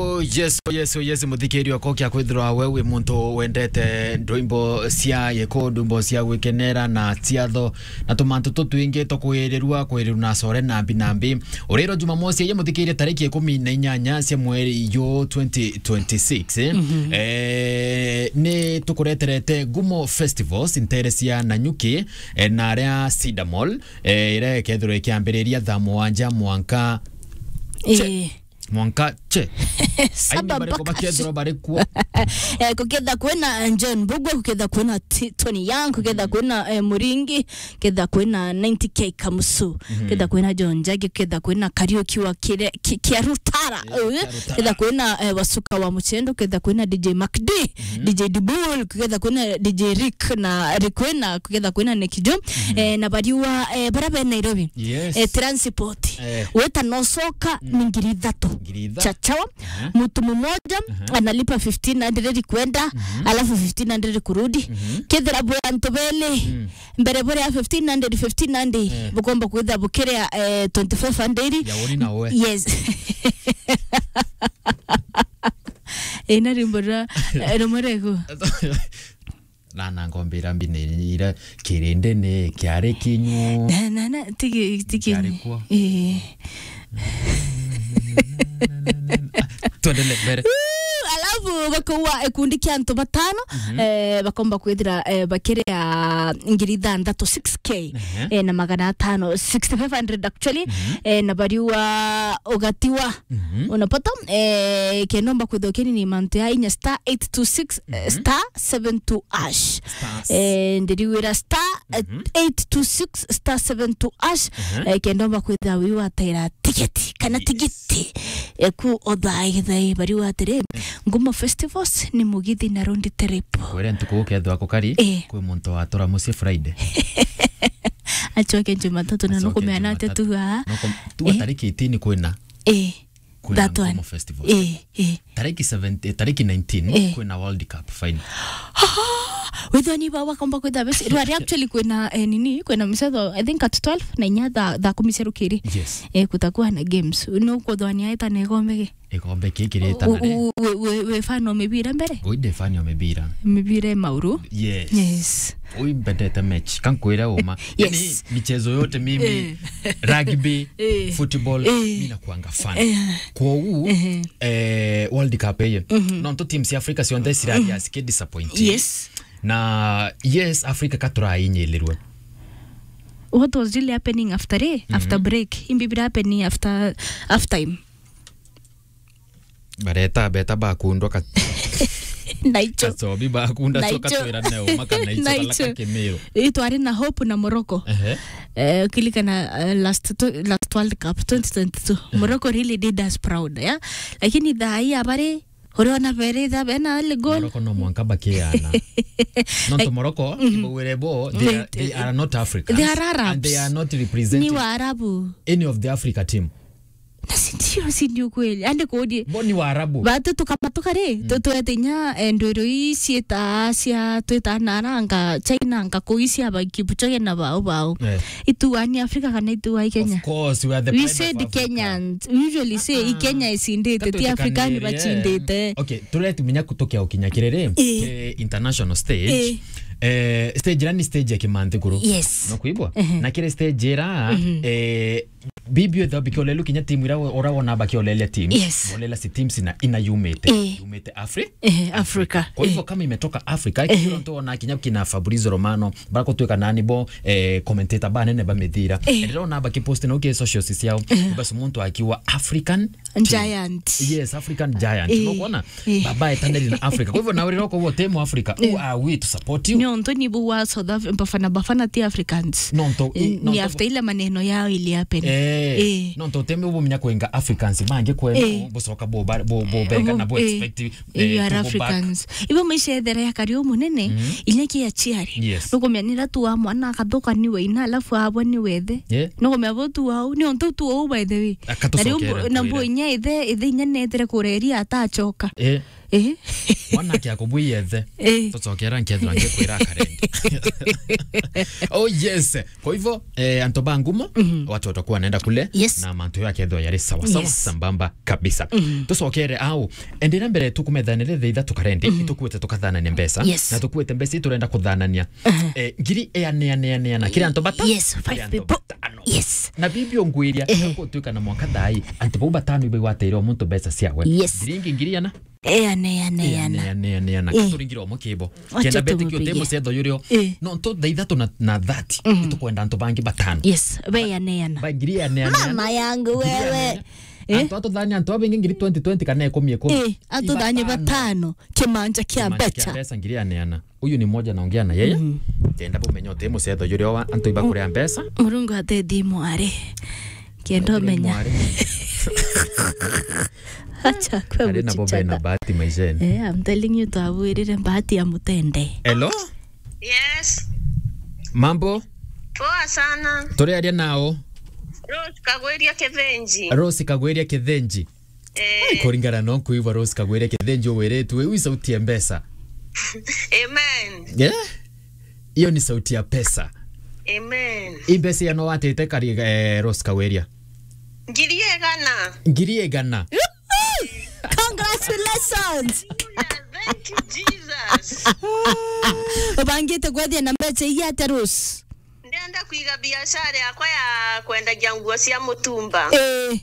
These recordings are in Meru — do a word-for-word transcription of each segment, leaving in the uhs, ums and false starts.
Oh, yes, oh, yes, oh, yes, muthikiria okwa, kia kwithirwa we wi muntu wendete ndwimbo cia giku, ndwimbo cia gwikenera na ciatho na tumantu tutwingi twa kwirirua, kwirirua na core nambi nambi. Uriro Jumamosi, ye muthikiria, tariki ikumi na inyanya cia mweri yu twenty twenty-six, eh? Eh, ni tukureterete Ngumo Festivals, ntere cia Nanyuki, eh, na aria Cedar Mall, eh, iria ikethirwa ikiambiriria thaa mugwanja mwanka che. Eh. Mwanka che. Aini saba bariko mpaka bakethirwa bari kuo? Eh, kuketha kwina, eh, John Mbugua, kuketha kwina T-, Tony Young, kuketha kwina, eh, Muringi, kuketha kwina ninety K Kamusu, kuketha kwina John Njagi, kuketha kwina Kariuki wa Kire-, Ki-, Kia Rutara, eh, eh, Kia Rutara. Kuketha kwina, eh, Wasuka wa Muchendo, kuketha kwina D J Mac D, D J Dibul, kuketha kwina D J Rick na Rikwena, kuketha kwina Nick Joe, eh, na bariwa, eh, bara be Nairobi. Yes. Eh, transport. Eh. Weta nocoka ni ngiri ithatu. Ngiri ithatu. Chachawa. Aha. Mtu mmoja analipa fifteen hundred kwenda, alafu fifteen hundred kurudi. Kethira bwe antu beli, mbere bore ya fifteen hundred, fifteen hundred, bukomba kwitha bukiria, eh, twenty-five hundred. Ya uri na we. Yes. Ina rimbo ra, eh, rumwe rego. Na, na ngombira mbini ira kirindi ni kiari kinyu. Na, na, na, tigi, tigi. Kiari kuo. Eh. Tuendelee mbere. Woo, alafu bakoua gikundi kia antu batano, eh, bakomba kwithira, eh, bakiria ngiri ithanthatu, six K, eh, na magana atano, sixty-five hundred actually, eh, na bariua ugatiwa. Unapata? Eh, kenda omba kwithwa kinini mantu ya inya star eight two six, eh, star seven two hash. Star. Eh, ndiriwira star, eh, eight two six star seven two hash. Eh, kenda omba kwithwa wiwataira tigeti kana tigiti. Eh, ku othaithai bariwa atiri, Ngumo Festivals ni mugithi na road trip. Kwere ntuku ukethwa kukari, eh, kwi muntu watura mucii Friday. Acoke Jumatatu na nukumea na atia tu aa. Nukum-, tu tariki eighteen kwina. Eh. Kwina Ngumo Festival. Eh, eh. Tariki seventeen, eh, tariki nineteen, eh, kwina World Cup final. Withoni ba wakomba kwitha besi. Rwari actually kwina, eh, nini, kwina mchezo, I think at twelve na inya thaa, thaa kumi cia rukiri. Yes. Eh, kutakuwa na games. No kuthwania eta na igombe gi. Igombe ki kirita na ri? U-, u-, we, we, we fan o mibira mbere? Ui ndi fan o mibira. Mibira e mauru? Yes. Yes. Ui mbendete match. Kankwira uma. Yes. Yani, michezo yote mimi, eh, rugby, eh, football, eh, mi nakuanga fan. Eh. Kwogu, eh, World Cup eye. Mhm. Nontu teams cia Africa cionthe cirari, mhm, asi ki disappoint. Yes. Na yes, Africa ka turainyilirwe. What was really happening after, eh? Mhm. After break. Imbi bira happening after, half time. Bareta beta bakundwa ka-, naicho. Kacobi bakunda. Naicho. Coka twira neo maka naicho. Naicho. Kalaka Kimiru. Ii twari na Hope na Morocco. Ehe. Eh, kilikana, eh, last to-, last World Cup twenty twenty-two. Ehe. Morocco really did us proud, yeah? Lakini thaa hii abari, uriona bere tha bena ale goal. Morocco no mwanka bakiana. Nontu Morocco, mhm, ibawire bo, they are, they are not Africans. They are Arabs. And they are not representing, ni Waarabu, any of the Africa team. Na si ndio, si ndio kweli? Ande kodi. Bo ni Waarabu. Batu tukamatuka ri, mm, tutwete inya, eh, ndwiro ii ciita cia twita na aranga China, nga kuu cia ba Kipchoge na bao bao. Eh. Ituani Africa kana ituai Kenya? Of course, we are the pride of Africa. We said Kenyans. We usually say, ah, i Kenya icindite, ti Africa ni bacindite. Okay, turetumenya kutukia ukinya kiriri, eh, ke international stage. Eh. Eh, stage ira ni stage ya kimanthikuru. Yes. No kuibwa? Ehe. Na kiri stage ira, mhm, eh, bibi othe bikiolelu kinya timu ira we-, ura wona bakiolelia teams. Yes. Bolela si teams ina, ina yumite. Eh. Yumite Afri-, eh, Africa. Africa. Kwa hivyo, eh, kama imetoka Africa, eh, ikiro ntu wona kinya kina Fabrizio Romano, barakutwika nani bo, eh, commentator banene ba mithira. Eh. Rero na bakipost na uke socials ciao. Eh. Basi muntu akiwa African giant. Yes, African giant. Eh. No kuona? Eh. Baba etaneri na Africa. Kwa hivyo, na uriro kwa temu Africa, who, eh, are we to support you? Ni onto ni bu wa South Af-, Bafana, Bafana ti Africans. Nonto, eh, ni nonto after ile maneno yao ili happen. Eh, eh, nonto teme ubu menya kwenga Africans bangi kwenu, eh, bucoka bo ba-, bo, bo benga na bo, eh, expect, eh, you are to go back. Africans. Ibo maisha ethere ya kario munene, mhm, ile kia chiari. Yes. Nukumenya nira tu wa mwana akathuka ni we ina, alafu abwa ni wethe. Yeah. Nukumenya bo tu wau, ni onto tu wau by the way. Akatucokerera na mbu-, na mbu kwira inya ithe, ithe inya nethere kureria atachoka. Eh. Eh. Mwanake akubwiye the. Eh. Tucokera nkethira ngikwira akarendi. Oh yes. Kwa hivyo, eh, antu ba ngumo, mhm, watu watakuwa wanaenda kule, yes, na mantu yakethwa yari sawa sawa, yes, sambamba kabisa. Mhm. Tucokere au, endera mbere tukumethanire the itha tukarendi, mhm, itukuite tukathanania mbeca, yes, na tukuite mbeca iturenda kuthanania. Mhm. Eh, ngiri eane, eane, eane, eane, kiri antu bata? Yes, five people. Kiri antu batano. Yes. Na bibi ongwiria, ehe, kutuika na mwaka thai, antu bau batano ibe igwateire o muntu mbeca ciawe. Yes. Ngiri ingi ngiri ana? Eane, eane, eane. Eane, eane, eane. Eh. Turingire o mukibo. Wacha kenda beti kio tumupigie. Te mucetho yurio. Eh. No, ntu thaa ithatu na, na thirty. Mhm. Itukwenda antu bangi batano. Yes, be eane, eane. Ba ngiri eane, eane, eane. Mama yangu wewe. Ngiri eane, eane. Eh? Antu atuthanie antu abingi ngiri twenty twenty kana ikumi ikumi. Eh, atuthanie batano. Batano. Kimanja kia mbeca. Kimanja kia mbeca ngiri eane, eane. Huyu ni mmoja naongea na yeye. Mhm. Kenda bumenye uti mucetho yurio wa antu ibakuria mbeca. Murungu atethie mwari. Kenda umenya. Mwari. Acha kwe. Ari na bobe na guchichata. Bahati maisheni. Eh, I'm telling you, twabwirire bahati ya mutende. Hello? Yes. Mambo? Poa sana. Turi aria nao? Rose Kagwiria Kithinji. Rose Kagwiria Kithinji. Eh. Ai, kuringana no kuigua Rose Kagwiria Kithinji wiritwe, iu sauti ya mbeca. Amen. Yeah? Iyo ni sauti ya pesa. Amen. I mbeca ya no watite kari, eh, Rose Kagwiria? Ngiri igana. Ngiri igana. Congratulations. Hallelujah. Thank you, Jesus. Ubangite kwethia na mbeca ii atia, Rose? Ndenda kwiga biashara yakwa ya kwendagia nguo cia mutumba. Eh.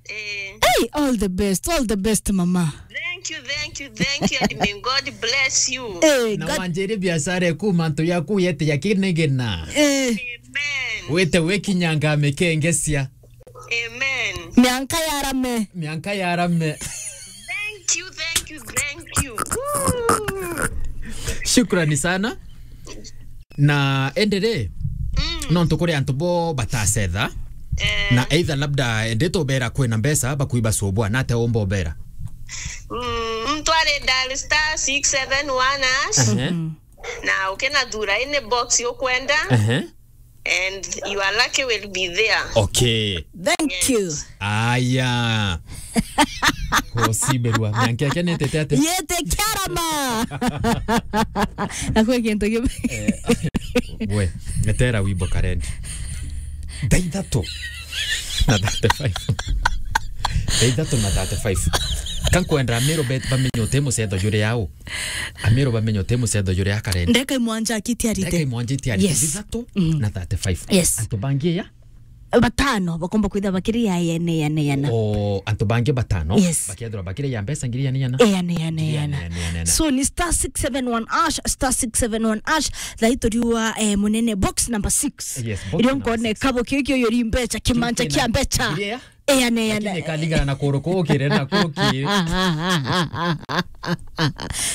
Eh. Hey, all the best, all the best, mama. Thank you, thank you, thank you, and may God bless you. Hey, na God wanjiri biashara eku mantu yaku yete ya kinigina. Eh. Amen. Wete wekinyanga mekengesia. Amen. Mianka ya rame. Mianka ya rame. Thank you, thank you, thank you. Woo. Shukrani sana. Na endere, mm, nontu kuri antu bo batacetha, eh, na either labda ende tubera kwina mbeca bakuiba subwa, nate umba ubera? Mm, mtu ari dial star six seven one hash. Ehe. Mm. Na ukina thura any box ukwenda. Ehe. And your lucky will be there. Okay. Thank you. Aya. Kusiberwa. Mianka yake nitete ate? Yete kiarama. Na kwe kintu kimwe. Eh, we, metera wimbo karendi. Thaa ithatu na thirty-five. Thaa ithatu na thirty-five. Kankwenda Amiru bet bamenye uti mucetho juri yao. Amiru bamenye uti mucetho juri akarendi. Ndeka imwanja akitiarite. Ndeka imwanja itiarite. Yes. Thaa ithatu, mm, na thirty-five. Yes. Antu bangi ya? Batano bakomba kwitha bakiri ya yene, yene, yana. O, antu bangi batano, yes, bakethirwa bakiri ya mbeca ngiri yene, yana. E, yene, yene, yana. Ngiri yene, yana, yana. So, ni star six seven one hash, star six seven one hash, thaa ituriua, eh, munene box number six. Yes, box number six. Irio nkone kabo kio kio yori mbeca, kimanja kia mbeca. Ngiri ya? Eane, eane. Lakini kalingana na kuru kukire na kuki.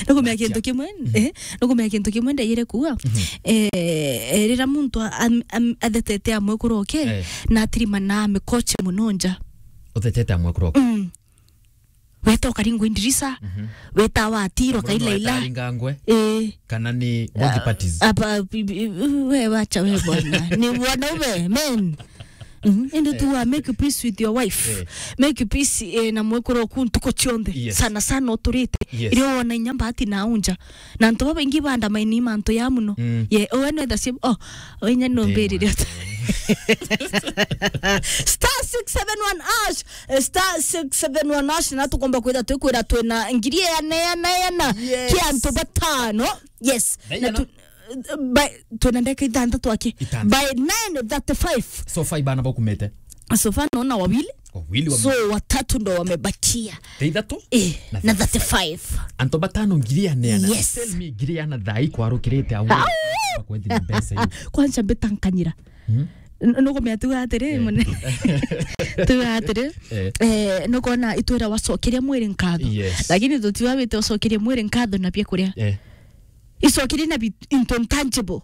Nukumenya kintu kimwe, mhm, eh, nukumenya kintu kimwe ndeyire kuuga. Mhm. Eh, eh, rira muntu a-, am-, am-, athetete amwe kuroke, eh, na atirima na mikoche muno nja. Uthetete amwe kuroke? Mm. Weta ukaringwa indirisa, mhm, weta watirwa kaila ila. Weta aringangwe. Eh. Kana ni both parties? Apa, bi-, bi-, we wacha we bwana. Ni bwana ube, men. Mhm. Ende tu wa make peace with your wife. Eh. Make peace, eh, na mwekuru oku ntuko cionthe. Yes. Sana sana uturite. Yes. Irio wona inya mbati na unja. Na antu babaingi bandamaini mantu ya muno. Mm. Ye, owe no thasie, oh, owe inya no mbirire. Star six seven one hash, eh, star six seven one hash, na tukomba kwitha twikwira twina ngiri eana, eana, eana. Yes. Kia antu batano. Yes. Na tu-, by, twina ndeka ithanthatu aki. Ithanthatu. By nine thirty-five. So far ibana bakumete. So far naona wawili. Wawili wame- So watatu ndo wamebakia. Thaa ithatu? Eh, na thirty-five. Antu batano ngiri eana, eana. Yes. Tell me ngiri eana thaa ikwarukirite au. Au! Bakwethi mbeca hiyo. Kwanza mbitankanyira. Hmm? N-, nukumenya tuga atiri, eh, mune-, tuga atiri, eh, eh, nukona itwira wacokeria mwiri nkatho. Yes. Lakini tutiwa wite ucokerie mwiri nkatho na biakuria. Eh. Icokerie na bi-, into intangible.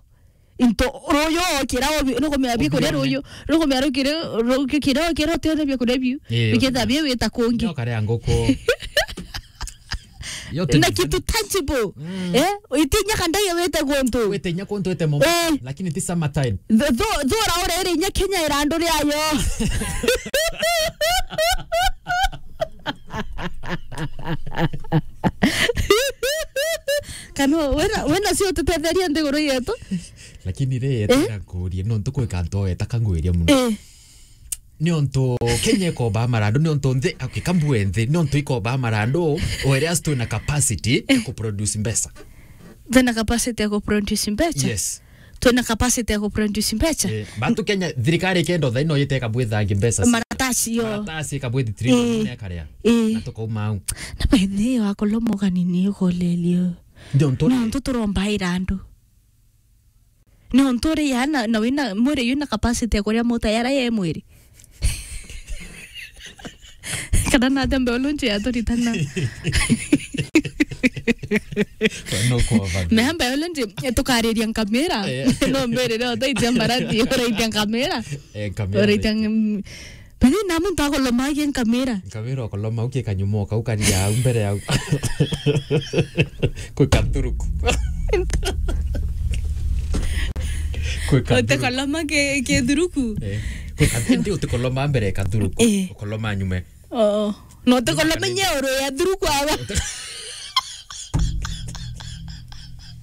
Into ruyu okira obi-, nukumenya biakuria ruyu, nukumenya rukiri, rukiri okira utio na biakuria biu. Eh, biketha bi wita kungi. Nyoka ria nguku. Yo na kitu tangible. Mm. Eh? Itinya kandai wete guntu. Wete inya kuntu wete momo. Eh. Lakini ti summer time. Tho-, tho-, thura urere inya Kenya irandu riayo. Wena, wena cio tutetheria nthiguru yetu. Lakini ri, eh? Tena kuria, nontu kwika ntoeta kangwiria muno. Eh. Niontu Kenya ikombaa marandu, niontu nthi, okay, kambue nthi, niontu ikombaa marandu, whereas twina capacity ya ku produce mbeca. Twina capacity ya ku produce mbeca? Yes. Twina capacity ya ku produce mbeca? Eh, bantu Kenya, thirikari ikenda thaino yite ikabwithangi mbeca cia maratasi, yo. Maratasi ikabwithi trillion, eh, nne ikaria. Eh. Na tukauma au. Na by the way, wakolomogani ni ukolelio. Niontu ri? Niontu turombaira andu. Niontu ri ya na, na wina mwiri yuna capacity ya kuria mota yara ye mwiri. Kana na tembe ulunji ya turitana. No kwa baba. Me hamba ulunji tukariria nkamira. Eh. No mbere ro taitia mbarati uraitia nkamira. Eh, nkamira. Uraitia ng-, Bethina muntu akoloma agi nkamira. Nkamira ukoloma uki kanyumo kau karia au mbere au. Kwi kathuruku. Kwi kathuruku. Utekoloma ke, ke thuruku? Eh. Kwi kathuruku, ndi utekoloma mbere kathuruku. Eh. Ukoloma nyume. Oo. No utekoloma nyeoro ya thuruku aba. Ute-